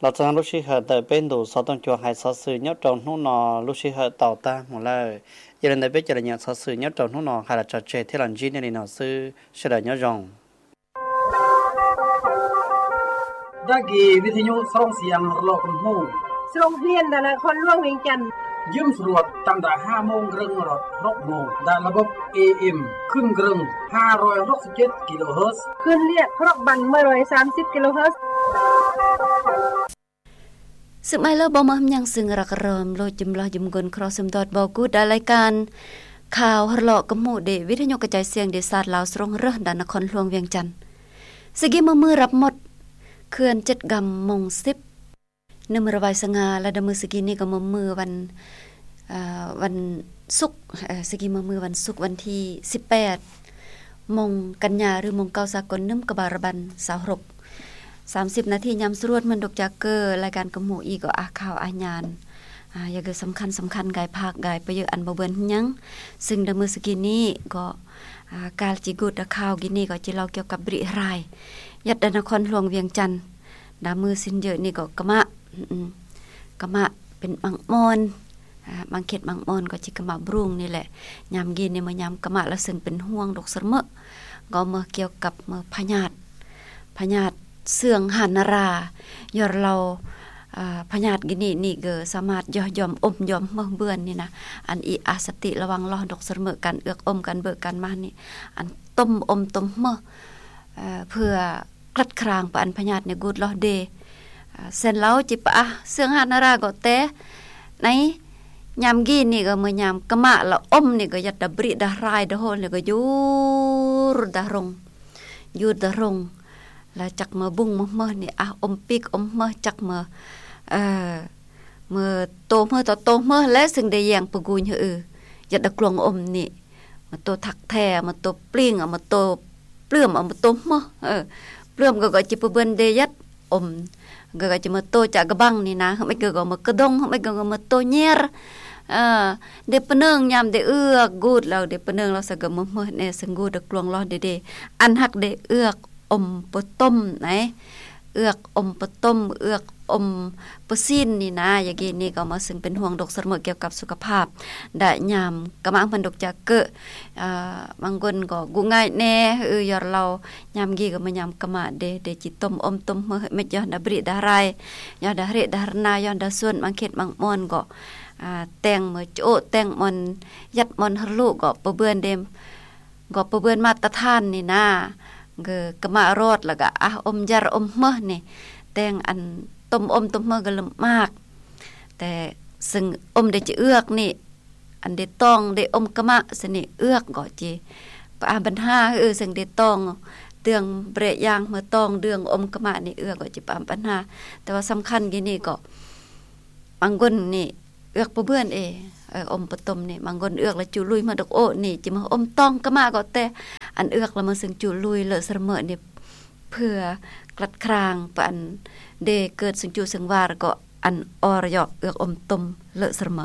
Lọt sơng lub sij hawm tơm peb ntu sâu tông čuah haiz xov xwm nhuôp rau hnub no, lub sij hawm tau tag mus lawm. Yog li ntawd peb cov lais nhem xov xwm nhuôp rau hnub no haiz lọt tso tseh thiab lom zib nyob li no xwb, sawv daws nyob zoo. ດາກີ ວິທະຍຸ ສອງສຽງ ຮອກກຳໂຮງ ສະໂຮງຮຽນ ນະຄອນຫຼວງວຽງຈັນ ຍືມສະຫຼວດ ຕັ້ງແຕ່ຫ້າໂມງເຄິ່ງ ຮອດຫົກໂມງ ດ້ານລະບົບ ເອເອັມ ຄຶ່ງເຄິ່ງ ຫ້າຮ້ອຍຫົກສິບເຈັດ ກິໂລເຮີດ ຄື້ນລຽບ ຮອກບັນ ໜຶ່ງຮ້ອຍສາມສິບ ກິໂລເຮີດ. ຊຶບໄມເລີ ບໍ່ມາຫາມຍັງ ຊຶງລັກລອມ ໂລດຈຸມລອຍຈຸມກົນ ຄຣອກຊຶມດອດ ບໍ່ກູດ ດາລາຍການຂ່າວ ຮອກກຳໂຮງ ເດ ວິທະຍຸກະຈາຍສຽງ ເດຊາດລາວ ສະໂຮງເຣີຍ ດານນະຄອນຫຼວງວຽງຈັນ. ສະກີມື ຮັບໝົດ ເຂື່ອນເຈັດກຳ ໂມງສິບ ໜຶ່ງ ລະວາຍສະຫງ່າ ລະດາມື ສະກີນີ້ກໍມາ ມື້ວັນ ເອີ ວັນສຸກ ເອີ ສະກີມາ ມື້ວັນສຸກ ວັນທີສິບແປດ ໂມງກັນຍາ ຫຼື ໂມງເກົ່າສາກົນ ໜຶ່ງ ກະບາລະບັນ ຊາວຫົກ ສາມສິບນາທີ ຍາມສະຫຼວດ ເໝືອນດົກຈາກເກີ ລາຍການກຳໂຮງອີກກໍ ອາ ຂ່າວອາຍານ ອາ ຢ່າເກີສຳຄັນ ສຳຄັນ ກາຍພາກ ກາຍປະເຢີດ ອັນບໍ່ເບື່ອນຫຍັງ ຊຶ່ງດາມື ສະກີນີ້ກໍ ອາ ກາລຈີກູດ ອາ ຂ່າວກີນີ້ກໍຈະເລົ່າກ່ຽວກັບບຣິຫາຍ ຍັດດານະຄອນຫຼວງວຽງຈັນ ດາມມືຊິນເຢີນີ້ກໍກະມະ ອືມ ກະມະເປັນບາງບ່ອນ ອາ ບາງເຂດບາງບ່ອນກໍຊິກະມະບຣູງນີ້ແຫຼະ. ຍາມກີນີ້ມາຍາມກະມະລະເຊິ່ງເປັນຫ່ວງດອກສະເໝີ ກໍເມື່ອກ່ຽວກັບເມື່ອພະຍາດ ພະຍາດເຊື່ອງຫານນາລາ ຍອດເລົ່າ ອາ ພະຍາດກິນີນີ້ກໍສາມາດຢໍ່ຢອມອົມຢອມເໝີເບືອນນີ້ນະ ອັນອີອາສະຕິລະວັງລອດອກສະເໝີ ການເອືອກອົມ ການເບີກການມານີ້ ອັນຕົ້ມອົມຕົ້ມເໝີ ເອີ ເພື່ອ ກລັດຄາງປະອັນພະຍາດໃນກູດລອດເດ ເຊັ່ນລາວຈິປະອາເຊື່ອງຫານນາລາກໍແຕ່ ໃນຍາມກີນີ້ກໍເມື່ອຍາມກະມະລະອົມນີ້ກໍຍັດດາບຣິດາຮາຍດາໂຮນນີ້ກໍຢູດາລົງ ຢູດາລົງ ລະຈັກເມື່ອບຸ້ງມາເໝີນີ້ອາ ອົມປີກອົມເໝີ ຈັກເມື່ອ ເອີ ເມື່ອໂຕເໝີຕໍ່ໂຕເໝີ ແລະ ຊຶ່ງໄດ້ແຍ່ງປະກູນເຮີ ຍັດດາກລວງອົມນີ້ ມາໂຕທັກແທ້ ມາໂຕປລິງ ເອົາມາໂຕປຶ້ມ ເອົາມາໂຕເໝີ ເອີ ປຶ້ມກໍ ກໍຈິປະເບືອນເດຍັດອົມ ກໍ ກໍຈິມາໂຕຈະກະບັງນີ້ນະ ເຮັດກໍ ກໍມາກະດົງ ເຮັດກໍ ກໍມາໂຕແຍ່ ເອີ ເດປະເນີງ ຍາມເດເອືອກກູດແລ້ວ ເດປະເນີງແລ້ວ ສະກະມາເໝີແນ່ ເຊິ່ງກູດກລວງລອດເດ ເດ ອັນຮັກເດເອືອກອົມປະຕົ້ມໄນ ເອືອກອົມປະຕົ້ມ ເອືອກອົມປະຊີ້ນນີ້ນາ ຢາກີນີ້ກໍມາເຊິ່ງເປັນຫ່ວງດອກສະເໝີກ່ຽວກັບສຸຂະພາບ ດະຍາມກະມະມັນດອກຈາກເກີ ອາ ບາງຄົນກໍກຸງາຍແນ່ ເອີ ຍອດເລົ່າ ຍາມກີກໍມາຍາມກະມະເດ ເດຈິຕົ້ມອົມຕົ້ມເໝີເຮັດເມັດ ຍ້ອນດາບຣິດາຮາຍ ຍ້ອນດາເຮດາຮະນາ ຍ້ອນດາຊວນ ບາງເຂດບາງບ່ອນກໍ ອາ ແຕ່ງເໝີໂຈະ ແຕ່ງບ່ອນ ຍັດບ່ອນຮະລຸ ກໍປະເບືອນເດ ກໍປະເບືອນມາດຕະຖານນີ້ນາ ກໍກະມະຣອດ ແລ້ວກໍອາ ອົມຢາ ອົມເໝີນີ້ ແຕ່ງອັນຕົ້ມອົມຕົ້ມເໝີກໍລຳບາກ ແຕ່ເຊິ່ງອົມໄດ້ຈະເອືອກນີ້ ອັນໄດ້ຕ້ອງໄດ້ອົມກະມະຊະນີ້ ເອືອກກໍຈິປະອາບັນຫາ ເອີ ເຊິ່ງໄດ້ຕ້ອງເດືອງເບຣະຢາງ ເມື່ອຕ້ອງເດືອງອົມກະມະນີ້ ເອືອກກໍຈິປະອາບັນຫາ ແຕ່ວ່າສຳຄັນກີນີ້ກໍ ບາງຄົນນີ້ເອືອກປະເບືອນເອ ເອີ ອົມປະຕົ້ມນີ້ ບາງຄົນເອືອກລະຈຸລຸຍມາດອກໂອນີ້ ຈິມາອົມຕ້ອງກະມະກໍແຕ່ ອັນເອືອກລະມາເຊິ່ງຈຸລຸຍເລີະສະເໝີນີ້ ເພື່ອກລັດຄາງປະອັນເດເກີດເຊິ່ງຈຸເຊິ່ງວາ ແລ້ວກໍອັນອໍລະເຍາະເອືອກອົມຕົ້ມເລີະສະເໝີ.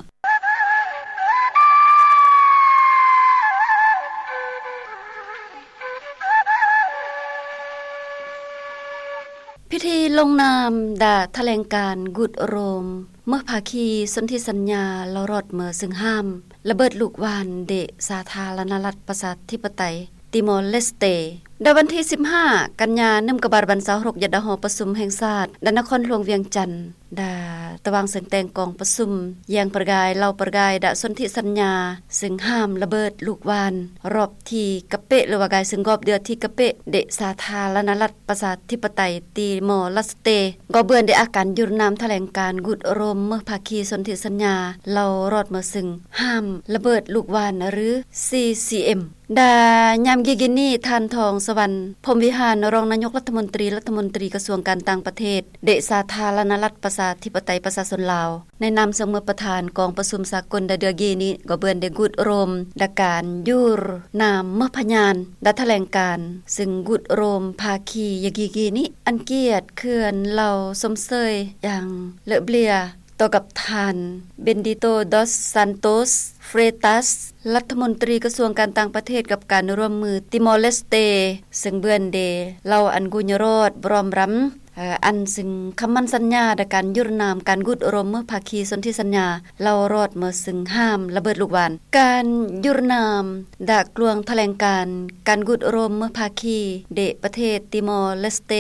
ພິທີລົງນາມດາຖະແຫຼງການກຸດໂຮມ ເໝີພາຄີສົນທິສັນຍາ ລາວຣອດເໝີເຊິ່ງຫ້າມລະເບີດລູກຫວ່ານເດສາທາລະນະລັດປະຊາທິປະໄຕຕີມໍເລສເຕ ດາວັນທີສິບຫ້າ ກັນຍາ ໜຶ່ງ ກະບາລະບັນ ຊາວຫົກ ຍັດດາຫໍປະຊຸມແຫ່ງຊາດ ດານະຄອນຫຼວງວຽງຈັນ ດາຕະຫວ່າງເຊິ່ງແຕ່ງກອງປະຊຸມ ແຍງປະກາຍ ເລົ່າປະກາຍ ດາສົນທິສັນຍາ ເຊິ່ງຫ້າມລະເບີດລູກຫວ່ານ ຮອບທີ່ກະເປະ ຫຼືວ່າກາຍເຊິ່ງກອບເດືອທີ່ກະເປະ ເດສາທາລະນະລັດປະຊາທິປະໄຕຕີມໍລາສເຕ ກໍເບືອນໄດ້ອາການຢຸດນາມຖະແຫຼງການກຸດໂຮມເໝີພາຄີສົນທິສັນຍາ ເລົ່າຣອດເໝີເຊິ່ງຫ້າມລະເບີດລູກຫວ່ານ ຫຼື ຊີຊີເອັມ ດາຍາມກີກິນນີ້ ທ່ານ ທອງສະຫວັນ ພົມວິຫານ ຮອງນາຍົກລັດຖະມົນຕີ ລັດຖະມົນຕີກະຊວງການຕ່າງປະເທດ ເດສາທາລະນະລັດປະຊາທິປະໄຕປະຊາຊົນລາວ ໃນນາມເຊິ່ງເໝີປະທານກອງປະຊຸມສາກົນດາເດືອກີນີ້ ກໍເບືອນໄດ້ກຸດໂຮມດາການຢຸດນາມເໝີພະຍານ ດາຖະແຫຼງການເຊິ່ງກຸດໂຮມພາຄີຢາກີກີນີ້ ອັນກຽດເຂື່ອນເລົ່າຊົມເຊີຍຢ່າງເລີະເບລຍ ຕໍ່ກັບທ່ານ ເບນດິໂຕ ດອສ ຊານໂຕສ ເຟຣຕັສ ລັດຖະມົນຕີກະຊວງການຕ່າງປະເທດ ກັບການຮ່ວມມືຕີມໍເລສເຕ ເຊິ່ງເບືອນເດເລົ່າອັນກຸຍະຣອດ ບຣອມຣຳ ອັນຊຶ່ງຄຳໝັ້ນສັນຍາ ດາການຢຸດນາມການກູດໂອລົມເມືອພາຄີສົນທິສັນຍາ ເລົ່າລອດເມືອຊຶ່ງຫ້າມລະເບີດລູກຫວ່ານ. ການຢຸດນາມດາກລວງຖະແຫຼງການການກູດໂອລົມເມືອພາຄີເດປະເທດຕີມໍເລສເຕ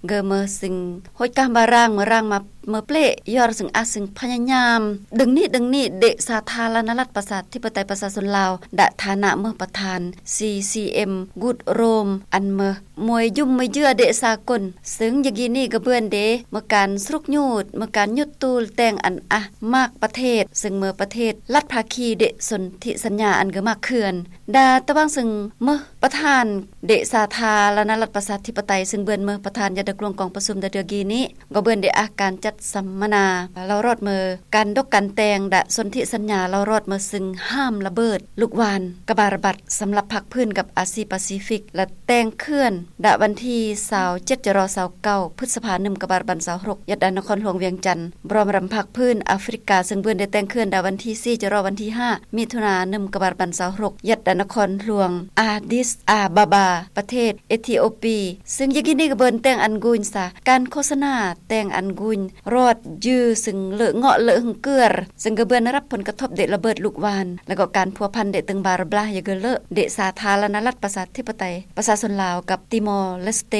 ເກີເມີຊຶ່ງໂຮດກາມບາຣາງເມືອຣາງມາເມືອເປລະ ຍອດຊຶ່ງອາດຊຶ່ງພະຍາຍາມດຶງນີ້ດຶງນີ້ເດສາທາລະນະລັດປະຊາທິປະໄຕປະຊາຊົນລາວ ດາຖານະເມືອປະທານ ຊີຊີເອັມ ກູດໂອລົມ ອັນເມີ ມວຍຢຸ່ມມວຍເຈືອເດສາກົນ ຊຶ່ງຢາກີນີ້ກະເບືອນເດ ເມືອການສະຫຼຸກຍູດ ເມືອການຍຸດຕູແຕ່ງອັນອາມາກປະເທດ ຊຶ່ງເມືອປະເທດລັດພາຄີເດສົນທິສັນຍາອັນກະມາກເຂື່ອນ ດາຕະຫວ່າງຊຶ່ງເມືອປະທານເດສາທາລະນະລັດປະຊາທິປະໄຕ ຊຶ່ງເບືອນເມືອປະທານຍັດດາກລວງກອງປະຊຸມດາເດືອກີນີ້ ກໍເບືອນເດອາການຈັດສຳມະນາ ເລົ່າລອດເມີການດົກການແຕ່ງດາສົນທິສັນຍາ ເລົ່າລອດເມີຊຶ່ງຫ້າມລະເບີດລູກຫວ່ານ ກະບາລະບັດສຳລັບພາກພື້ນກັບອາຊີປາຊີຟິກ ແລະ ແຕ່ງເຂື່ອນ ດາວັນທີຊາວເຈັດ ຈະລໍ ຊາວເກົ້າ ພຶດສະພາ ໜຶ່ງກະບາລະບັນຊາວຫົກ ຍັດດານະຄອນຫຼວງວຽງຈັນ ພ້ອມລຳພາກພື້ນອາຟຣິກາ ຊຶ່ງເບືອນໄດ້ແຕ່ງເຂື່ອນ ດາວັນທີສີ່ ຈະລໍ ວັນທີຫ້າ ມິຖຸນາ ໜຶ່ງກະບາລະບັນຊາວຫົກ ຍັດດານະຄອນຫຼວງອາດິສອາບາບາ ປະເທດເອທິໂອປີ ຊຶ່ງຢາກີນີ້ກະເບືອນແຕ່ງອັນກຸຍສາ ການໂຄສະນາແຕ່ງອັນກຸຍລອດຈື່ ຊຶ່ງເລີະເງາະເລີະຫຶງເກືອ ຊຶ່ງກະເບືອນໄດ້ຮັບຜົນກະທົບເດລະເບີດລູກຫວ່ານ ແລະ ກໍການພົວພັນເດຕຶງບາຣະບລາ ຢາກະເລີະເດສາທາລະນະລັດປະຊາທິປະໄຕປະຊາຊົນລາວກັບຕີມໍເລສເຕ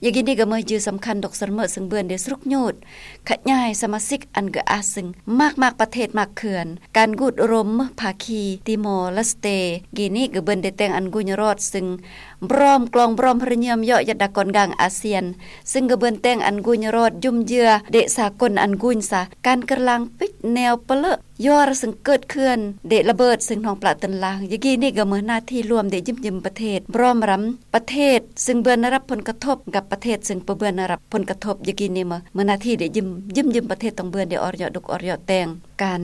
ຢາກີນີ້ກະເມີຈື່ສຳຄັນດົກສະເມີ ຊຶ່ງເບືອນເດສະຫຼຸກຍູດ ຂະຫຍາຍສະມາຊິກອັນກະອາດຊຶ່ງມາກມາກປະເທດມາກເຂື່ອນ ການກູດໂອລົມເມືອພາຄີຕີມໍເລສເຕ ກີນີ້ກະເບືອນໄດ້ແຕ່ງອັນກຸຍລອດ ຊຶ່ງບຣອມກລອງບຣອມຮະເຍີມເຍາະຍັດດາກອນກາງອາຊຽນ ຊຶ່ງກະເບືອນແຕ່ງອັນກຸຍລອດຢຸ່ມເຍື່ອເດສາກົນອັນກຸຍສາ ການກະລາງປິດແນວປະເລີະ ຍອດຊຶ່ງເກີດເຂື່ອນເດລະເບີດ ຊຶ່ງໜອງປະເຕີນລາງ ຢາກີນີ້ກະເມີໜ້າທີ່ລວມເດຢືມຢືມປະເທດ ບຣອມລຳປະເທດ ຊຶ່ງເບືອນໄດ້ຮັບຜົນກະທົບ ກັບປະເທດ ຊຶ່ງປະເບືອນໄດ້ຮັບຜົນກະທົບ ຢາກີນີ້ເມີໜ້າທີ່ເດຢືມຢືມປະເທດ ຕ້ອງເບືອນເດອອດເຍາະດຸກອອດເຍາະແຕ່ງ ການ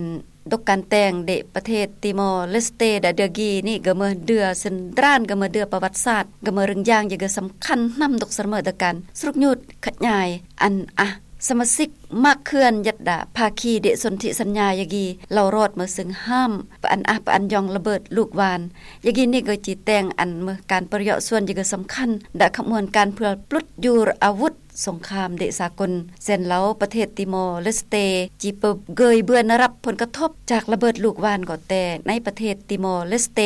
ດົກການແຕ່ງເດປະເທດຕີມໍເລສເຕ ດາເດືອກີນີ້ກະເມີເດືອເຊັນດຣານ ກະເມີເດືອປະຫວັດສາດ ກະເມີເລື່ອງຢ່າງຢາກະສຳຄັນນຳດົກສະເມີດາການສະຫຼຸກຍູດຂະຫຍາຍອັນອາສະມາຊິກມາກເຂື່ອນຍັດດາພາຄີເດສົນທິສັນຍາ ຢາກີເລົ່າລອດເມີຊຶ່ງຫ້າມປະອັນອາປະອັນຢອງລະເບີດລູກຫວ່ານ ຢາກີນີ້ກະຈີແຕ່ງອັນເມີການປະເຍາະສ່ວນຢາກະສຳຄັນດາຂະບວນການເພື່ອປຸດຢຸດອາວຸດ ສົງຄາມເດສາກົນ ແສນເລົາປະເທດຕີມໍເລສເຕ ຈີປະເກີຍເບືອນໄດ້ຮັບຜົນກະທົບຈາກລະເບີດລູກຫວ່ານກໍແຕ່ ໃນປະເທດຕີມໍເລສເຕ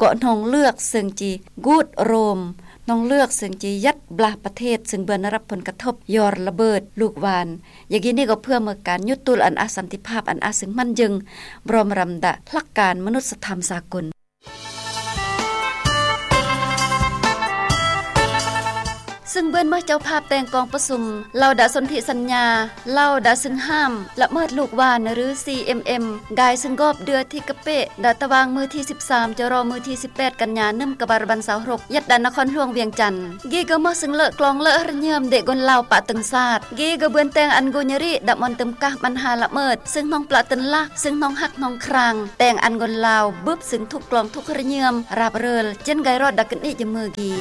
ກໍໜອງເລືອກເຊິ່ງຈີກູດໂອລົມ ໜອງເລືອກເຊິ່ງຈີຍັດບລາປະເທດ ຊຶ່ງເບືອນໄດ້ຮັບຜົນກະທົບຍ້ອນລະເບີດລູກຫວ່ານ ຢາກີນີ້ກໍເພື່ອເມືອການຍຸດຕູອັນອາສັນຕິພາບ ອັນອາຊຶ່ງໝັ້ນເຢິງ ບຣອມລຳດາຫຼັກການມະນຸດສະທຳສາກົນ. ຊຶ່ງເບືອນເມືອເຈົ້າພາບແຕ່ງກອງປະຊຸມ ເລົ່າດາສົນທິສັນຍາ ເລົ່າດາຊຶ່ງຫ້າມລະເມີດລູກຫວ່ານ ຫຼື ຊີເອັມເອັມ ກາຍຊຶ່ງກອບເດືອທີ່ກະເປະ ດາຕະຫວ່າງມື້ທີສິບສາມ ຈະລໍ ມື້ທີສິບແປດ ກັນຍາ ໜຶ່ງກະບາລະບັນຊາວຫົກ ຍັດດານະຄອນຫຼວງວຽງຈັນ ກີກະເມີຊຶ່ງເລີະກລອງເລີະຮະເຍີມເດກົນລາວປະຕຶງຊາດ ກີກະເບືອນແຕ່ງອັນກຸຍຍະຣິ ດາມອນຕຶມກາບັນຫາລະເມີດ ຊຶ່ງໜອງປະເຕີນລາກ ຊຶ່ງໜອງຮັກ ໜອງຄຣາງ ແຕ່ງອັນກົນລາວບຶບ ຊຶ່ງທຸກກລອງທຸກຮະເຍີມ ຣາບເຣີລ ເຈັນໄກຣອດດາກະນິຈະເມີກີ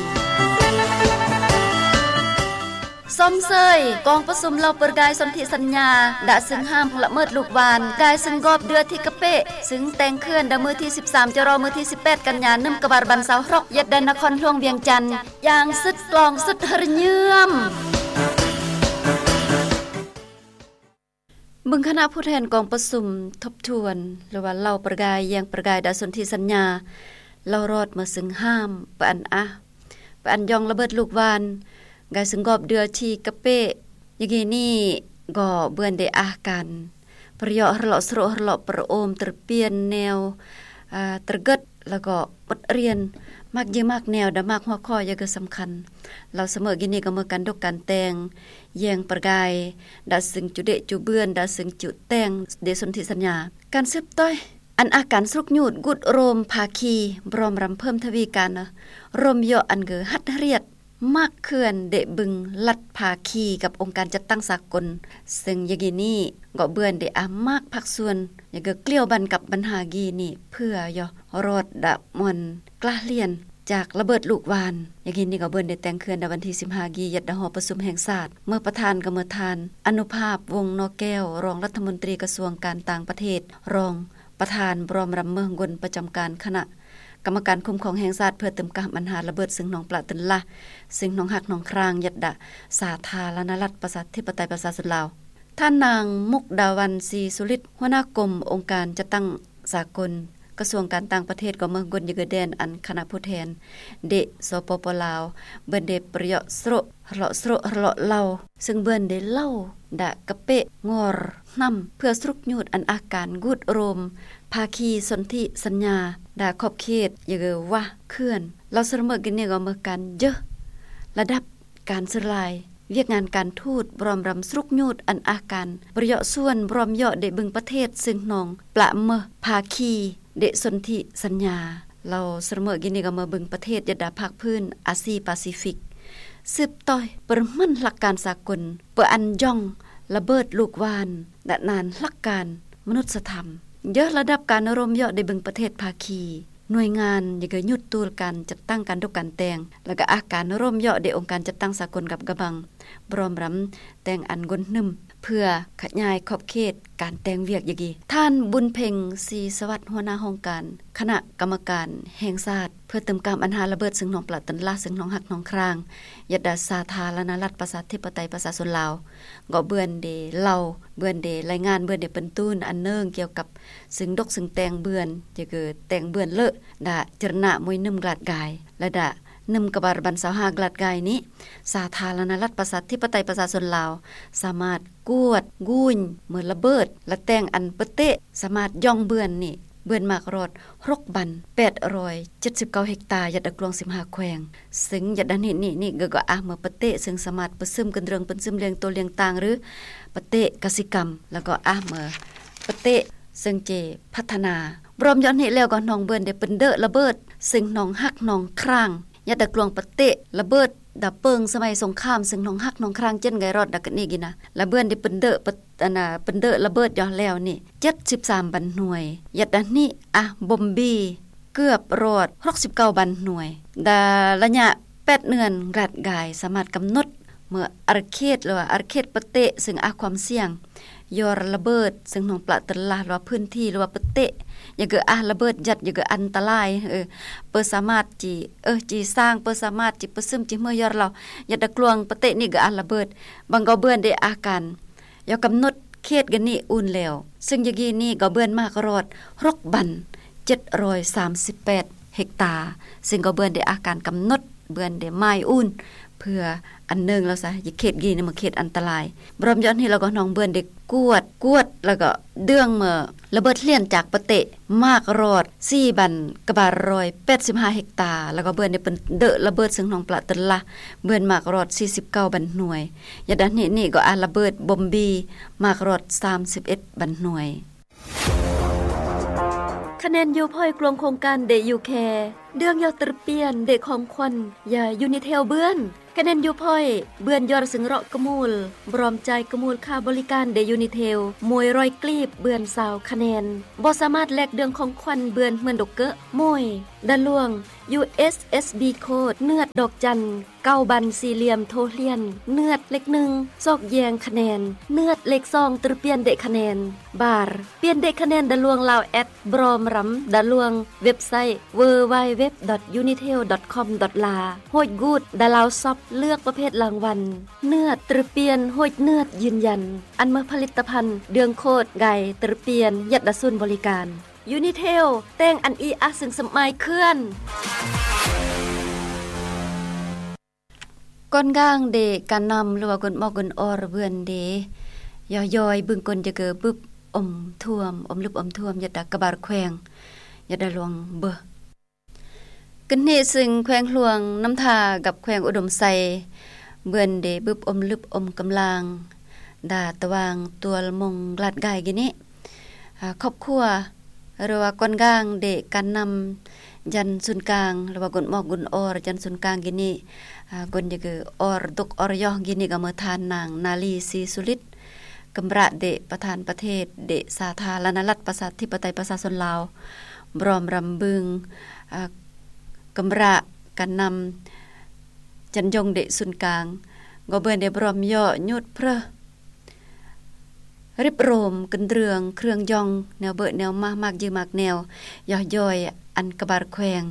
ຊົມເຊີຍກອງປະຊຸມເລົ່າປະກາຍສົນທິສັນຍາ ດາຊຶ່ງຫ້າມລະເມີດລູກຫວ່ານ ກາຍຊຶ່ງກອບເດືອທີ່ກະເປະ ຊຶ່ງແຕ່ງເຂື່ອນດາມື້ທີສິບສາມ ຈະລໍ ມື້ທີສິບແປດ ກັນຍາ ໜຶ່ງກະບາລະບັນຊາວຫົກ ຍັດດານະຄອນຫຼວງວຽງຈັນ ຢ່າງສຸດກລອງສຸດຮະເຍີມ. ເບິ່ງຄະນະຜູ້ແທນກອງປະຊຸມທົບທວນ ຫຼືວ່າເລົ່າປະກາຍແຍງປະກາຍດາສົນທິສັນຍາ ເລົ່າລອດເມືອຊຶ່ງຫ້າມປະອັນອາປະອັນຢອງລະເບີດລູກຫວ່ານ ກາຍຊຶ່ງກອບເດືອທີ່ກະເປະ ຍາກີນີ້ກໍເບືອນໄດ້ອາການປະເຍາະຮະເລາະສະໂຣະຮະເລາະປະໂອມ ຕະປຽນແນວ ອາ ຕະເກີດ ແລ້ວກໍບົດຮຽນ ໝາກເຢີໝາກແນວ ດາໝາກຫົວຂໍ້ຢ່າງກະສຳຄັນ ລາວສະເໝີກິນນີ້ກໍເໝີການດົກການແຕ່ງ ແຍງປະກາຍ ດາຊຶງຈຸເດະຈຸເບືອນ ດາຊຶງຈຸແຕ່ງເດສົນທິສັນຍາ ການສືບຕໍ່ ອັນອາການສະຫຼຸກຍູດ ກູດໂອລົມພາຄີ ບຣອມຣຳເພີ່ມທະວີການ ລົມເຍາະອັນເກີດຮັດຮຽດ ໝາກເຂື່ອນເດະບຶງລັດພາຄີກັບອົງການຈັດຕັ້ງສາກົນ ເຊິ່ງຢາກີນີ້ກໍເບືອນເດອາມາກພາກສ່ວນ ຢາກະກລ້ຽວບັນກັບບັນຫາກີນີ້ ເພື່ອຢໍລອດດະມອນກລ້າລຽນຈາກລະເບີດລູກຫວ່ານ ຢາກີນີ້ກໍເບືອນເດແຕ່ງເຂື່ອນໃນວັນທີສິບຫ້າກີ ຍັດດະຫໍປະຊຸມແຫ່ງຊາດ ເມື່ອປະທານກໍເມື່ອທ່ານ ອະນຸພາບ ວົງນໍແກ້ວ ຮອງລັດຖະມົນຕີກະຊວງການຕ່າງປະເທດ ຮອງ ປະທານ ບຣອມຣຳເມີງກົນ ປະຈຳການຄະນະ ກຳມະການຄຸ້ມຄອງແຫ່ງຊາດເພື່ອເຕີມກາມອັນຫາລະເບີດເຊິ່ງໜອງປະເຕີນລະ ເຊິ່ງໜອງຮັກໜອງຄຣາງ ຍັດດະ ສາທາລະນະລັດ ປະຊາທິປະໄຕ ປະຊາຊົນລາວ. ທ່ານນາງ ມຸກດາວັນ ສີສຸລິດ ຫົວໜ້າກົມອົງການຈັດຕັ້ງສາກົນ ກະຊວງການຕ່າງປະເທດ ກໍເມືອກົນຢະເກີແດນ ອັນຄະນະຜູ້ແທນເດ ສປປ ລາວ ເບິ່ນເດປະເຍາະໂຊຣະ ເລາະໂຊຣະ ເລາະເລົ່າ ເຊິ່ງເບິ່ນເດເລົ່າດາກະເປະງອຣນຳ ເພື່ອສະຫຼຸບຍູດອັນອາການກູດໂຣມ ພາຄີສົນທິສັນຍາ ດາຂອບເຂດຢະເກີວະເຂື່ອນ ລາວສະເໝີກິນນີ້ກໍເມືອການເຢີ ລະດັບ ການສື່ລາຍ ວຽກງານການທູດ ບຣອມຣຳສະຫຼຸບຍູດອັນອາການປະເຍາະສ່ວນ ບຣອມເຍາະເດເບິ່ງປະເທດເຊິ່ງໜອງປະເມີພາຄີເດສົນທິສັນຍາ ລາວສະເໝີກິນນີ້ກໍເມືອເບິ່ງປະເທດຍັດດາພາກພື້ນອາຊີປາຊີຟິກ ສືບຕໍ່ປະເມີນຫຼັກການສາກົນ ປະອັນຢອງລະເບີດລູກຫວ່ານ ດະນານຫຼັກການມະນຸດສະທຳ ເຢີລະດັບການໂຣມເຍາະເດເບິ່ງປະເທດພາຄີ ໜ່ວຍງານຢາກຍືດຕູລການຈັດຕັ້ງການຕົກການແຕ່ງ ແລະກະອາການໂຣມເຍາະເດອົງການຈັດຕັ້ງສາກົນກັບກະບັງ ບຣອມຣຳແຕ່ງອັນກົນໜຶ່ມ ເພື່ອຂະຫຍາຍຂອບເຂດການແຕ່ງວຽກຢາກ. ທ່ານ ບຸນເພັງ ສີສະຫວັດ ຫົວໜ້າຫ້ອງການຄະນະກຳມະການແຫ່ງຊາດ ເພື່ອເຕີມກາມອັນຫາລະເບີດເຊິ່ງໜອງປະເຕີນລະ ເຊິ່ງໜອງຮັກໜອງຄຣາງ ຍັດດາສາທາລະນະລັດ ປະຊາທິປະໄຕ ປະຊາຊົນລາວ ກໍເບື່ອນເດເລົ່າ ເບື່ອນເດລາຍງານ ເບື່ອນເດເປັນຕູນອັນເນື່ອງກ່ຽວກັບ ຊຶ່ງດົກຊຶ່ງແຕ່ງເບື່ອນ ຈະເກີແຕ່ງເບື່ອນເລີະ ດາຈະລະນະມວຍໜຶ່ມກລາດກາຍ ລະດາໜຶ່ມກະບາລບັນຊາວຫ້າກລາດກາຍນີ້ ສາທາລະນະລັດ ປະຊາທິປະໄຕ ປະຊາຊົນລາວ ສາມາດກວດກຸຍເມີລະເບີດ ລະແຕ່ງອັນປະເຕະ ສາມາດຢອງເບື່ອນນີ້ ເບື່ອນໝາກຣອດຫົກບັນ ແປດຮ້ອຍເຈັດສິບເກົ້າເຮັກຕາ ຍັດດະກວງສິບຫ້າແຂວງ ຊຶ່ງຍັດດະນີ້ນີ້ນີ້ກໍອາເມີປະເຕະ ຊຶ່ງສາມາດປະຊຶມກັນເລື່ອງປະຊຶມລ້ຽງໂຕລ້ຽງຕ່າງ ຫຼື ປະເຕະກະສິກຳ ແລ້ວກໍອາເມີປະເຕະ ເຊິ່ງເຈພັດທະນາ ບຣອມຢອດນີ້ແລ້ວກໍໜອງເບື່ອນເດເປັນເດີລະເບີດ ເຊິ່ງໜອງຮັກໜອງຄຣາງ ຍັດດະກວງປະເຕະລະເບີດ ດາເປິງສະໄໝສົງຄາມ ເຊິ່ງໜອງຮັກໜອງຄຣາງ ເຈັນໄກຣອດ ດາກະນີກິນນະ ລະເບື່ອນເດເປັນເດີປະ ອັນນະ ເປັນເດີລະເບີດຢອດແລ້ວນີ້ ເຈັດສິບສາມບັນໜ່ວຍ ຍັດດະນີ້ອາບົມບີ ເກືອບຮອດຫົກສິບເກົ້າບັນໜ່ວຍ ດາລະຍະແປດເດືອນກລາດກາຍ ສາມາດກຳນົດເມີອາເຂດ ຫຼືວ່າອາເຂດປະເຕະ ເຊິ່ງອາຄວາມສ່ຽງ ຢອດລະເບີດ ເຊິ່ງໜອງປະເຕີນລະ ຫຼືວ່າພື້ນທີ່ ຫຼືວ່າປະເຕະ ຢາກເກີອາລະເບີດ ຍັດຢາກເກີອັນຕະລາຍ ເອີ ເປີສາມາດຈີ ເອີ ຈີສ້າງ ເປີສາມາດຈີປະຊຶມຈີເມີຢອດລາວ ຍັດດະກວງປະເຕະນີ້ກະອາລະເບີດ ບັງກໍເບື່ອນເດອາການ ຢາກກຳນົດເຂດກະນີອຸ່ນແລ້ວ ເຊິ່ງຢາກກີນີ້ກໍເບື່ອນໝາກຣອດຫົກບັນ ເຈັດຮ້ອຍສາມສິບແປດເຮັກຕາ ເຊິ່ງກໍເບື່ອນເດອາການກຳນົດ ເບື່ອນເດໝາຍອຸ່ນ ເພື່ອອັນເນີງແລ້ວຊະ ເຂດກີນີ້ມັນເຂດອັນຕະລາຍ ບຣອມຢອດນີ້ແລ້ວກໍໜອງເບື່ອນເດກວດ ກວດ ແລ້ວກໍເດືອງເມີລະເບີດເຫຼັ້ນຈາກປະເຕະ ໝາກຣອດສີ່ບັນ ກະບາລຮ້ອຍແປດສິບຫ້າເຮັກຕາ ແລ້ວກໍເບື່ອນເດເປັນເດີລະເບີດ ເຊິ່ງໜອງປະເຕີນລະ ເບື່ອນໝາກຣອດສີ່ສິບເກົ້າບັນໜ່ວຍ ຍັດດະນີ້ນີ້ກໍອາລະເບີດບົມບີ ໝາກຣອດສາມສິບເອັດບັນໜ່ວຍ. ຄະແນນຢູພອຍກລວງໂຄງການເດຢູແຄ ເດືອງຢາວຕຣຽມເດຂອງຂວັນ ຢາຢູນິເທວເບື່ອນ ຄະແນນຢູພອຍເບື່ອນຢອດເຊິ່ງເລາະກະມູລ ບຣອມຈ່າຍກະມູລຄ່າບໍລິການເດຢູນິເທວ ມວຍຮ້ອຍກລີບ ເບື່ອນຊາວຄະແນນ ບໍ່ສາມາດແລກເດືອງຂອງຂວັນເບື່ອນເໝືອນດົກເກີະ ມວຍ ດາລວງ ຢູເອັສເອັສບີໂຄດ ເນືອດດອກຈັນ ເກົ້າບັນສີ່ຫຼ່ຽມໂທຫຼຽນ ເນືອດເລກໜຶ່ງ ຊອກແຍ່ງຄະແນນ ເນືອດເລກສອງ ຕຣຽມເດຄະແນນ ບາຣ ປ່ຽນເດຄະແນນດາລວງລາວແອັດ ບຣອມຣຳດາລວງ ເວັບໄຊ ເວີໄວເວັບດອດຢູນິເທວດອດຄອມດອດລາ ໂຮດກູດ ດາລາວຊັອບ ເລືອກປະເພດລາງວັນ ເນືອດຕຣຽມ ໂຮດເນືອດຢືນຢັນ ອັນເມີຜະລິດຕະພັນ ເດືອງໂຄດ ໄກຕຣຽມ ຍັດດາສູນບໍລິການ ຢູນິເທວ ແຕ່ງອັນອີອາຊຶງສະໝາຍເຄື່ອນ ກ່ອນກາງເດການນຳ ຫຼືວ່າກົນໝອກກົນອອຣເບື່ອນເດ ຍໍຍ້ອຍບຶງກົນຈະເກີບຶບອົມຖ້ວມ ອົມລຶບອົມຖ້ວມ ຍັດດາກະບາຣແຂວງ ຍັດດາຫຼວງເບີ ກຶນເນຊຶງແຂວງຫຼວງນ້ຳທາກັບແຂວງອຸດົມໄຊ ເບື່ອນເດບຶບອົມລຶບອົມກຳລາງ ດາຕະຫວ່າງຕົວລະມົງກລາດກາຍກິເນ ອາ ຄອບຄົວ ຫຼືວ່າກ່ອນກາງເດການນຳ ຈັນສູນກາງ ຫຼືວ່າກົນໝອກກຸນອອຣ ຈັນສູນກາງກິເນ ອາ ກົນຢາກອອຣດົກອອຣຢອກກິເນ ກະເມີທ່ານນາງ ນາລີ ສີສຸລິດ ກຳມະລະເດ ປະທານປະເທດ ເດ ສາທາລະນະລັດ ປະຊາທິປະໄຕ ປະຊາຊົນລາວ ບຣອມຣຳບຶງ ອາ ກຳມະລະການນຳ ຈັນຢົງເດ ສູນກາງ ກໍເບື່ອນເດບຣອມຍໍ້ຍູດເພີ ຣິບໂຣມ ກຶນເລື່ອງ ເຄື່ອງຢອງ ແນວເບີແນວມາ ມາກຍືມາກແນວ ຢໍ່ຢອຍ ອັນກະບາດແຂວງ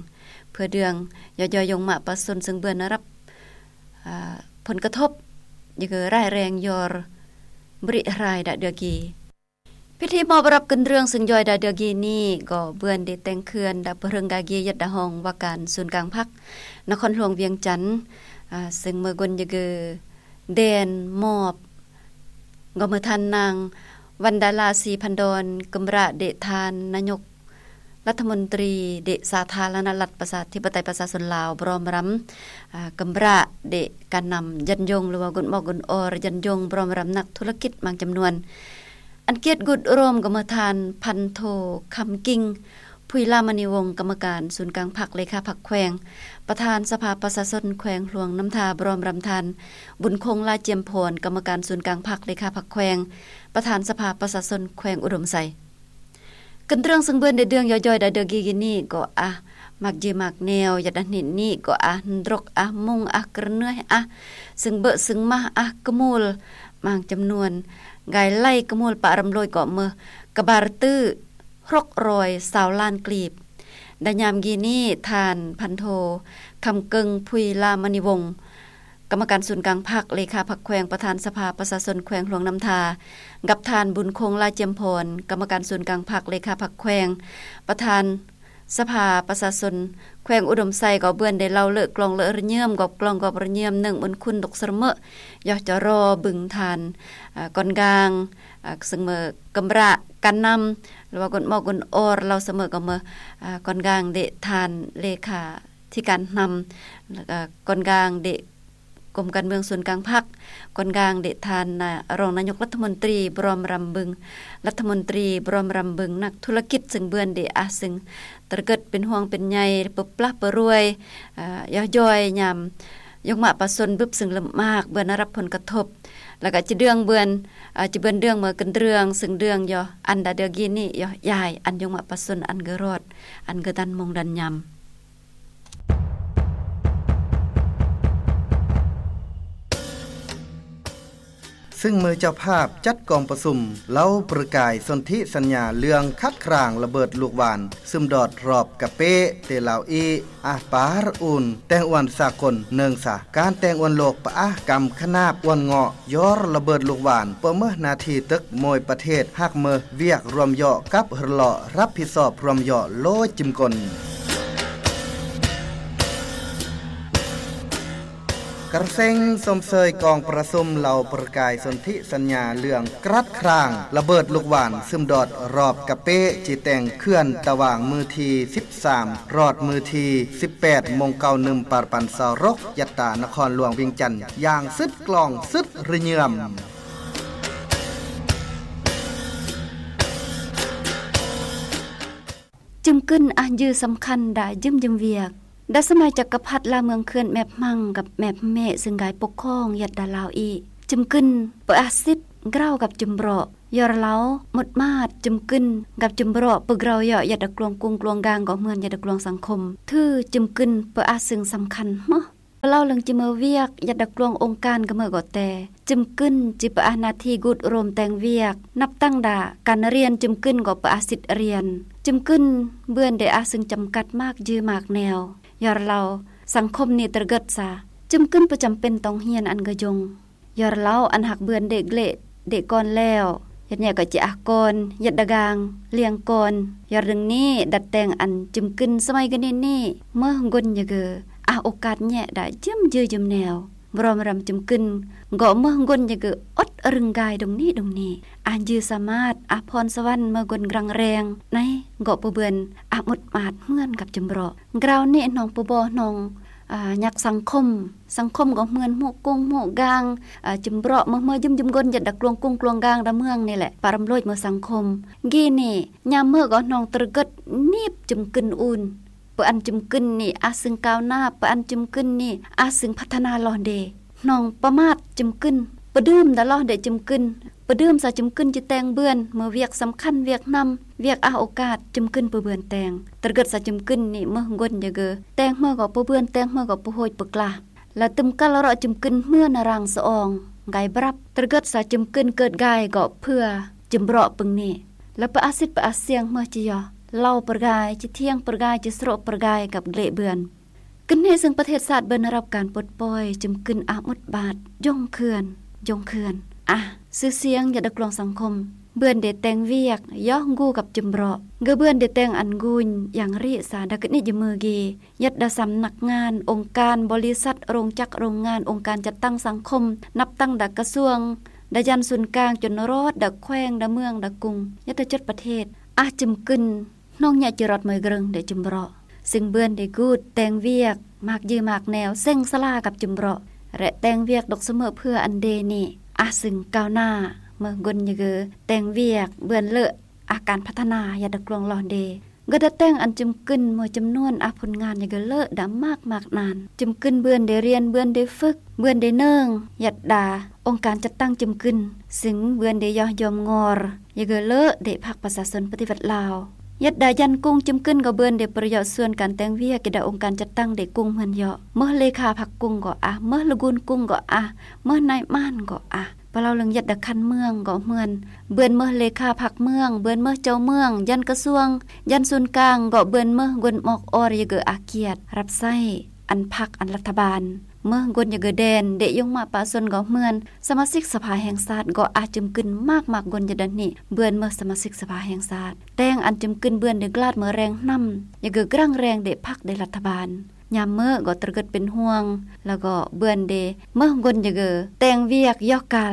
ເພື່ອເລື່ອງ ຢໍ່ຢອຍ ຢົງມະປະຊາຊົນ ເຊິ່ງເບື່ອນະຮັບ ອາ ຜົນກະທົບ ຢືກຮ້າຍແຮງ ຢໍ່ບໍລິຫາຍດາເດືອກີ. ພິທີມອບຮັບກຶນເລື່ອງ ເຊິ່ງຢອຍດາເດືອກີນີ້ ກໍເບື່ອນໄດ້ແຕ່ງເຄື່ອນ ດາປະເຮິງກາກີ ຍັດດາຮອງວ່າການສູນກາງພັກ ນະຄອນຫຼວງວຽງຈັນ ອາ ເຊິ່ງເມີກົນຢືກ ແດນມອບ ກໍເມີທ່ານນາງ ວັນດາລາ ສີພັນດອນ ກຶມຣະເດ ທ່ານນາຍົກລັດຖະມົນຕີເດ ສາທາລະນະລັດ ປະຊາທິປະໄຕ ປະຊາຊົນລາວ ບຣອມຣຳ ອາ ກຶມຣະເດ ການນຳ ຢັນຢົງ ຫຼືວ່າກົນໝອກກົນອໍ ຢັນຢົງ ບຣອມຣຳນັກທຸລະກິດບາງຈຳນວນ ອັນກຽດກຸດໂຮມ ກໍເມີທ່ານພັນໂທ ຄຳກິ່ງ ຜຸຍລາມະນີວົງ ກຳມະການສູນກາງພັກ ເລຂາພັກແຂວງ ປະທານສະພາປະຊາຊົນແຂວງຫຼວງນ້ຳທາ ບຣອມຣຳທ່ານ ບຸນຄົງ ລາຈຽມພອນ ກຳມະການສູນກາງພັກ ເລຂາພັກແຂວງ ປະທານສະພາປະຊາຊົນແຂວງອຸດົມໄຊ. ກຶນເລື່ອງເຊິ່ງເບື່ອນໄດ້ເລື່ອງ ຢໍ່ຢອຍ ດາເດືອກີນີ້ ກໍອາ ມາກຍືມາກແນວ ຢາດອັນເຫັນນີ້ ກໍອາ ດຣົກອາ ມຸງອາ ກຣະເໜືອຍອາ ເຊິ່ງເບີເຊິ່ງມາ ອາ ກະມູລ ບາງຈຳນວນ ກາຍໄລ່ກະມູລປະຣຳໂລຍ ກໍເມີກະບາດຕື້ ຫົກຮ້ອຍຊາວລ້ານກລີບ. ໃນຍາມກີ້ນີ້ ທ່ານພັນໂທ ຄຳເກິ່ງ ຜຸຍລາມະນີວົງ ກຳມະການສູນກາງພັກ ເລຂາພັກແຂວງ ປະທານສະພາປະຊາຊົນແຂວງຫຼວງນ້ຳທາ ກັບທ່ານ ບຸນຄົງ ລາຈຽມພອນ ກຳມະການສູນກາງພັກ ເລຂາພັກແຂວງ ປະທານສະພາປະຊາຊົນແຂວງອຸດົມໄຊ ກໍເບື່ອນໄດ້ເລົ່າເລີກກລອງເລີກຣະເຍີມ ກອບກລອງກອບຣະເຍີມ ເນື່ອງບຸນຄຸນຕົກສະເໝີ ຢໍ່ຈະລໍບຶງທ່ານ ອາ ກ່ອນກາງ ອາ ເຊິ່ງເມີກຳມະການນຳ ຫຼືວ່າກົນໝອກກົນອໍ ເລົ່າສະເໝີກໍເມີ ອາ ກ່ອນກາງເດ ທ່ານເລຂາທິການນຳ ແລ້ວກໍກ່ອນກາງເດ ກົມການເມືອງສູນກາງພັກ ກ່ອນກາງເດ ທ່ານນາ ຮອງນາຍົກລັດຖະມົນຕີ ບຣອມຣຳບຶງ ລັດຖະມົນຕີ ບຣອມຣຳບຶງ ນັກທຸລະກິດ ເຊິ່ງເບື່ອນເດ ອາ ເຊິ່ງຕະເກີດເປັນຫ່ວງເປັນໃຍ ປຶບປະປະລວຍ ອາ ຢໍ່ຢອຍຍາມ ຍົງມະປະຊົນບຶບ ເຊິ່ງລຳບາກ ເບື່ອນໄດ້ຮັບຜົນກະທົບ ແລ້ວກະຈະເດືອງເບື່ອນ ອາ ຈະເບື່ອນເລື່ອງເມີກຶນເລື່ອງ ເຊິ່ງເລື່ອງຢໍ່ອັນດາເດືອກີນີ້ ຢໍ່ຢາຍ ອັນຍົງມະປະຊົນ ອັນກະຮອດ ອັນກະດັນມົງດັນຍາມ. ຊຶ່ງເມື່ອເຈົ້າພາບຈັດກອງປະຊຸມ ເລົ່າປະກາຍສົນທິສັນຍາເລື່ອງຂັດຂາງລະເບີດລູກຫວ່ານ ຊຶມດອດຮອບກະເປ ເຕລາວອີ ອາປາຣອູນ ແຕງອວນສາກົນ ເນື່ອງສາ ການແຕງອວນໂລກປະອາກຳຂະໜາບອວນເງາະ ຢໍ່ລະເບີດລູກຫວ່ານ ເປີເມີໜ້າທີ່ຕຶກໂມຍປະເທດ ຫາກເມີວຽກຮ່ວມເຍາະກັບຮະເລາະ ຮັບຜິດຊອບຮ່ວມເຍາະໂລຈິມກົນ. ກະເຊັງຊົມເຊີຍກອງປະຊຸມເລົ່າປະກາຍສົນທິສັນຍາເລື່ອງຂັດຂາງລະເບີດລູກຫວ່ານ ຊຶມດອດຮອບກະເປ ຈີແຕ່ງເຂື່ອນ ຕະຫວ່າງມື້ທີສິບສາມ ຮອດມື້ທີສິບແປດ ມົງເກົາໜຶ່ມ ປານປັນຊາວລົກ ຍັດຕາ ນະຄອນຫຼວງວຽງຈັນ ຢ່າງສຸດກລອງສຸດຣະເຍີມ. ຈຶມກຶນອາ ຍືສຳຄັນດາຢືມຢືມວຽກ ດາສະໄໝຈັກກະພັດລາວເມືອງເຂື່ອນແມບມັງກັບແມບເມ ເຊິ່ງກາຍປົກຄອງຍັດດາລາວອີກ ຈຶມກຶນເປີອາສິດ ກຣາວກັບຈຶມເບາະ ຢໍ່ລາວໝົດມາດ ຈຶມກຶນກັບຈຶມເບາະ ເປີກຣາວເຍາະ ຍັດດາກລວງກຸງກລວງກາງ ກໍເໝືອນຍັດດາກລວງສັງຄົມ ຖືຈຶມກຶນເປີອາຊຶ່ງສຳຄັນເໝີ. ເລົ່າເລື່ອງຈະເມີວຽກ ຍັດດາກລວງອົງການກະເມີກໍແຕ່ ຈຶມກຶນຈະປະອາໜ້າທີ່ກຸດໂຮມແຕ່ງວຽກ ນັບຕັ້ງດາການຮຽນ ຈຶມກຶນກໍປະອາສິດຮຽນ ຈຶມກຶນເບື່ອນໄດ້ອາຊຶ່ງຈຳກັດມາກຍືມາກແນວ ຢໍ່ລາວສັງຄົມນີ້ຕະເກີດສາ ຈຶມກຶນປະຈຳເປັນຕ້ອງຮຽນອັນກະຍົງ ຢໍ່ລາວອັນຫາກເບື່ອນເດກເລ ເດກອນແລ້ວ ຢໍ່ແຍະກໍຈະອາກອນ ຢໍ່ດາກາງ ລຽງກອນ ຢໍ່ດຶງນີ້ດັດແຕ່ງອັນຈຶມກຶນສະໄໝກະນິດນີ້ ເມີກົນຢະເກີ ອາໂອກາດແຍະດາຢືມຢືມແນວ ບຣອມຣຳຈຶມກຶນ ເກາະເມືອງກົນຢະເກີ ອົດອະລຶງກາຍດົງນີ້ດົງນີ້ ອາຍືສາມາດ ອາພອນສະຫວັນເມືອກົນກລັງແຮງ ໃນເກາະປະເບືອນ ອາໝົດມາດເໝືອນກັບຈຳເບາະ ກຣາວນີ້ນ້ອງປະບໍນ້ອງ ອາ ຍັກສັງຄົມ ສັງຄົມກໍເໝືອນໝູກກຸງໝູກກາງ ອາ ຈຳເບາະເມືອເມືອຢືມຢືມກົນ ຍັດດາກລວງກຸງກລວງກາງດາເມືອງນີ້ແຫຼະ ປາຣຳໂລຍເມືອສັງຄົມ ກີ້ນີ້ຍາມເມືອກໍນ້ອງຕະເກີດໜີບຈຶມກຶນອູນ ປະອັນຈຶມກຶນນີ້ອາຊຶງກ້າວໜ້າ ປະອັນຈຶມກຶນນີ້ອາຊຶງພັດທະນາຫຼໍ່ເດ ນ້ອງປະໝາດຈຶມກຶນ ປະດື່ມດາຫຼໍ່ເດຈຶມກຶນ ປະດື່ມສາຈຶມກຶນຈະແຕ່ງເບືອນ ເມື່ອວຽກສຳຄັນວຽກນຳ ວຽກອາໂອກາດ ຈຶມກຶນປະເບືອນແຕ່ງ ຕະເກີດສາຈຶມກຶນນີ້ເມືອກົນຢະເກີ ແຕ່ງເມືອກໍປະເບືອນ ແຕ່ງເມືອກໍປະໂຫຍປະກລາ ລະຕຶມກາລະເລາະຈຶມກຶນເມືອນາຣາງສະອອງ ກາຍບລັບ ຕະເກີດສາຈຶມກຶນເກີດກາຍກໍເພື່ອ ຈຶມເບາະປຶງເນ ແລະ ປະອາສິດປະອາສຽງເມີຈະຍໍ ເລົ່າປະກາຍ ຈະທຽງປະກາຍ ຈະສະໂຣປະກາຍກັບເກລະເບືອນ. ກຶນເນ ເຊິ່ງປະເທດຊາດເບີນຮັບການປົດປ່ອຍ ຈຶມກຶນອາໝົດບາດ ຢົງເຂື່ອນ ຢົງເຂື່ອນ ອາຊື່ສຽງ ຢາດກລວງສັງຄົມ ເບືອນເດແຕ່ງວຽກ ຢໍ້ງກູກັບຈຶມເບາະ ເກີເບືອນເດແຕ່ງອັນກູຍ ຢ່າງຣິສາ ດາກະນິດຍະມືເກ ຍັດດາສຳນັກງານ ອົງການ ບໍລິສັດ ໂຮງຈັກ ໂຮງງານ ອົງການຈັດຕັ້ງສັງຄົມ ນັບຕັ້ງດາກະຊວງ ດາຢັນສູນກາງ ຈົນຮອດດາແຂວງ ດາເມືອງ ດາກຸງ ຍັດຕະຈົດປະເທດ ອາຈຶມກຶນ ໜອງຍະຈິຣອດເມີຍເກຣິງ ເດຈຶມເບາະ ຊຶ່ງເບືອນເດກູດແຕ່ງວຽກ ມາກຍືມາກແນວ ເສັງສາລາກັບຈຶມເບາະ ແລະ ແຕ່ງວຽກດົກສະເໝີເພື່ອອັນເດນີ້ ອາຊຶ່ງກ້າວໜ້າ ເມີກົນຍະເກີແຕ່ງວຽກ ເບືອນເລີ ອາການພັດທະນາ ຢາດກລວງຫຼອນເດ ກະດາແຕ່ງອັນຈຶມກຶນ ເມີຈຳນວນອາຜົນງານຍະເກີເລີດາມາກມາກນານ ຈຶມກຶນເບືອນເດຮຽນ ເບືອນເດຝຶກ ເບືອນເດເນີງ ຍັດດາອົງການຈັດຕັ້ງຈຶມກຶນ ຊຶ່ງເບືອນເດຍໍຍ້ອມງໍ ຍະເກີເລີເດພັກປະຊາຊົນປະຕິວັດລາວ ຍັດດາຢັນກຸງ ຈຶມກຶນກໍເບືອນເດປະເຍາະສ່ວນການແຕ່ງວຽກ ກະດາອົງການຈັດຕັ້ງເດກຸງເໝືອນເຍາະ ເມີເລຂາພັກກຸງກໍອາ ເມີລະກູນກຸງກໍອາ ເມີນາຍມານກໍອາ ປະເລົ່າເລື່ອງຍັດດາຄັນເມືອງກໍເໝືອນ ເບືອນເມີເລຂາພັກເມືອງ ເບືອນເມີເຈົ້າເມືອງ ຢັນກະຊວງ ຢັນສູນກາງ ກໍເບືອນເມີກົນມອກອອຍະເກີອາກຽດ ຮັບໃຊ້ອັນພັກອັນລັດຖະບານ ເມີກົນຍະເກີແດນ ເດຍົງມະປະຊາຊົນກໍເໝືອນ ສະມາຊິກສະພາແຫ່ງຊາດກໍອາຈຶມກຶນ ມາກມາກົນຍະດານນີ້ ເບືອນເມີສະມາຊິກສະພາແຫ່ງຊາດ ແຕ່ງອັນຈຶມກຶນເບືອນເດກລາດເມີແຮງນຳ ຍະເກີກຣາງແຮງເດພັກເດລັດຖະບານ ຍາມເມີກໍຕະເກີດເປັນຫ່ວງ ແລ້ວກໍເບືອນເດເມີກົນຍະເກີແຕ່ງວຽກຢອກການ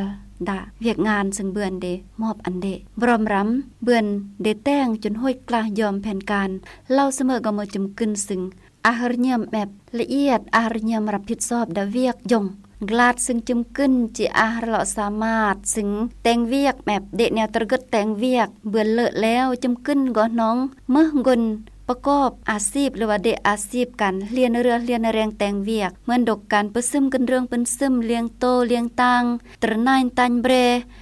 ດາວຽກງານ ຊຶ່ງເບືອນເດມອບອັນເດບຣອມຣຳ ເບືອນເດແຕ່ງຈົນໂຫດກລ້າຍອມແຜນການ ເລົ່າສະເໝີກໍເມີຈຳກຶນ ຊຶ່ງອາຮະຍຽມແອບລະອຽດ ອາຮະຍຽມຮັບຜິດຊອບດາວຽກຢົງກລາດ ຊຶ່ງຈຳກຶນຈິອາຮະເລາະສາມາດ ຊຶ່ງແຕ່ງວຽກແອບເດແນວຕະເກີດແຕ່ງວຽກ ເບືອນເລີແລ້ວ ຈຳກຶນກໍໜອງເມີກົນ ປະກອບອາຊີບ ຫຼືວ່າເດອາຊີບການຮຽນເຮືອຮຽນແຮງແຕ່ງວຽກ ເໝືອນດົກການປຶ້ນຊຶມ ກຶນເລື່ອງປຶ້ນຊຶມ ລ້ຽງໂຕລ້ຽງຕ່າງ ຕຣະໜາຍຕ່າງແບຣ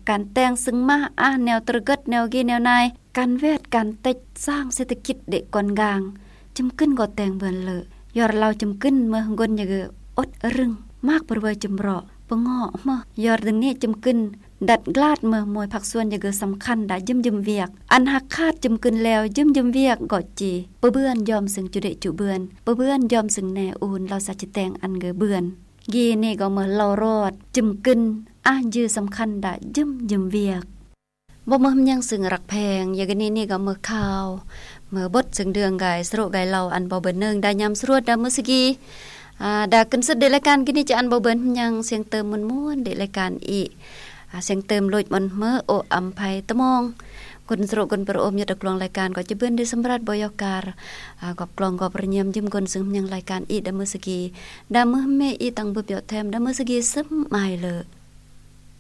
ການແຕ່ງຊຶ່ງມາອາແນວຕະເກີດແນວກີແນວນາຍ ການແວດການເຕັດສ້າງເສດຖະກິດເດກອນກາງ ຈຳກຶນກໍແຕ່ງເບືອນເລີ ຍອດເລົ່າຈຳກຶນເມີກົນຍະເກີອົດອະລຶງ ມາກປະເວີຍຈຳເຣາະປະເງາະເມີ ຍອດດຶງນີ້ຈຳກຶນ ດັດກລາດເມີມວຍພາກສ່ວນຍະເກີສຳຄັນດາຢືມຢືມວຽກ ອັນຫາກຂາດຈຳກຶນແລ້ວຢືມຢືມວຽກກໍຈີປະເບືອນຍອມຊຶ່ງຈຸເດະຈຸເບືອນ ປະເບືອນຍອມຊຶ່ງແນອູນ ເລົ່າສາຈິແຕງອັນເກີເບືອນ ກີນີ້ກໍເມີເລົ່າຣອດຈຳກຶນ ອາຢືສຳຄັນດາຢືມຢືມວຽກ ບໍ່ເມີຫຍັງຊຶ່ງຮັກແພງ ຢາກະນີ້ນີ້ກໍເມີຂ່າວ ເມີບົດຊຶ່ງເດືອງກາຍສະໂຣກາຍເລົ່າ ອັນບໍ່ເບີນໜຶ່ງ ດາຍາມສະຫຼວດ ດາເມີສະກີ ອາ ດາຂຶ້ນສຸດເດລາຍການ ກິນນີ້ຈະອັນບໍ່ເບີນຫຍັງ ສຽງເຕີມມ່ວນໆ ເດລາຍການອີກ ອາ ສຽງເຕີມໂລດມັນເມີ ໂອອຳໄພຕະມອງ ກົນສະໂຣກົນປະໂອມ ຍອດຕະກລວງລາຍການ ກໍຈະເບີນເດສຳລັດ ບໍ່ຍອກກາ ອາ ກອບກລອງກອບລະຍຽມ ຢືມກົນຊຶ່ງຫຍັງລາຍການອີກ ດາເມີສະກີ ດາເມີເມອີຕັງບຶບເຍາະແຖມ ດາເມີສະກີຊຶມມາຍເລີ